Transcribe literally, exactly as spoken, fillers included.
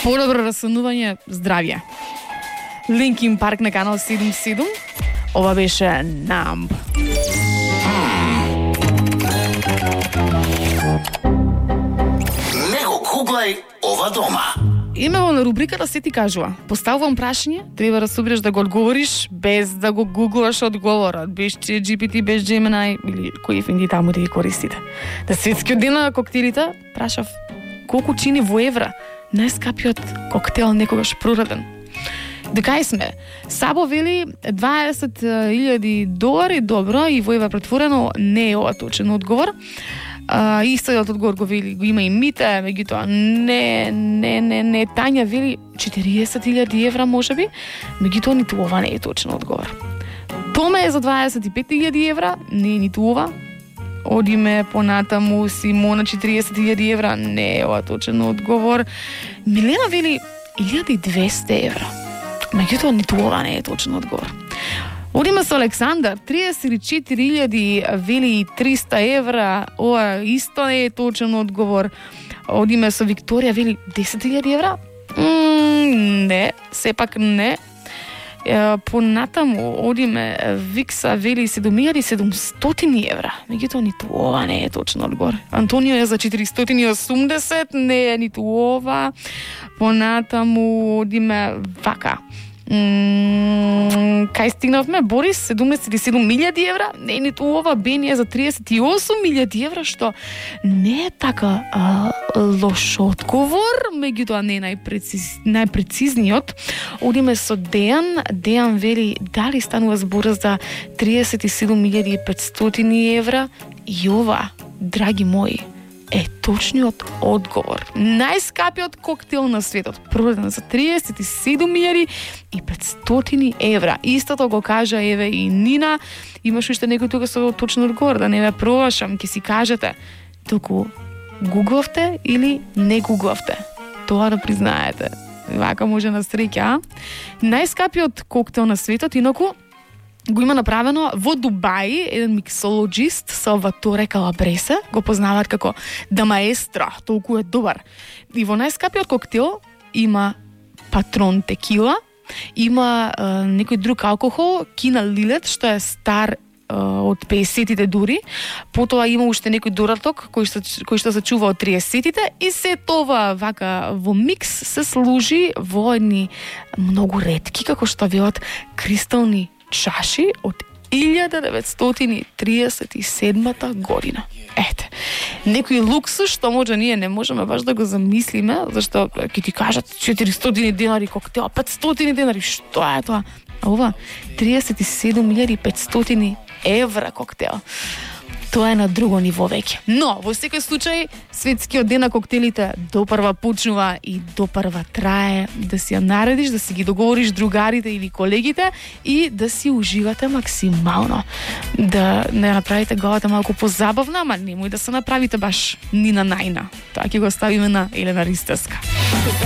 подобро расонување, здравје. Линкин Парк на канал седум седум. Ова беше Numb. Не го гуглај ова дома. Имало на рубриката се ти кажува. Поставувам прашање, треба да собереш да го одговориш без да го гуглаш одговорот. Без Джи Пи Ти, без Gemini или кои финди таму да ги користите. Да светскиот ден на коктелите прашав колку чини во евра најскапиот коктел некогаш прораден. Дека сме? Сабо вели дваесет илјади долари, добро, и во евра претворено не е ова точен одговор. Uh, истиот одговор го вели, го има и Мите, меѓутоа не, не, не, не, Тања вели четириесет илјади евра можеби, меѓутоа ниту ова не е точен одговор. Томе е за дваесет и пет илјади евра, не е ниту ова. Одиме понатаму, Симона четириесет илјади евра, не е ова точен одговор. Милена вели илјада и двесте евра, меѓутоа ниту ова не е точен одговор. Одиме со Александар, триесет и четири илјади вели и триста евра, ова исто не е точен одговор. Одиме со Викторија, вели десет илјади евра? Mm, не, сепак не. E, понатаму одиме Викса, вели седум илјади и седумстотини евра. Меѓутоа ниту ова не е точен одговор. Антонио е за четиристотини и осумдесет, не е ниту ова. Понатаму одиме вака. Mm, кај стигнавме? Борис, седумдесет и седум илјади евра, не е ниту ова. Бени е за триесет и осум илјади евра, што не е така а, лош одговор, меѓутоа не е најпрeciz, најпрецизниот. Одиме со Дејан. Дејан вели дали станува збор за триесет и седум илјади и петстотини евра, и ова, драги мои, е точниот одговор. Најскапиот коктел на светот, продаден за триесет и седум илјади и петстотини евра. Истото го кажа еве и Нина. Имаш уште некој тука со точен одговор, да не ве пробашам, ќе си кажете току гуглавте или не гуглавте. Тоа да признаете. Вака може на среќа, а? Најскапиот коктел на светот, инаку го има направено во Дубај, еден миксологист Салваторе Калабресе, го познаваат како Да Маестро, толку е добар. И во најскапиот коктел има Патрон текила, има е, некој друг алкохол, Кина Лилет, што е стар е, од педесетите дури, потоа има уште некој дораток кој што, кој што се чува од триесетите, и се тоа вака во микс се служи во едни многу ретки, како што велат, кристални чаши од илјада деветстотини триесет и седмата година. Ете, некој луксус што може ние не можеме баш да го замислиме, зашто ќе ти кажат четиристотини денари коктел, петстотини денари, што е тоа? А ова триесет и седум илјади и петстотини евра коктел. Тоа е на друго ниво веќе. Но, во секој случај, светскиот ден на коктелите допрва почнува и допрва трае. Да си ја наредиш, да си ги договориш другарите или колегите и да си уживате максимално. Да не направите главата малку позабавна, ама немој да се направите баш ни на најна. Тоа ќе го ставиме на Елена Ристевска.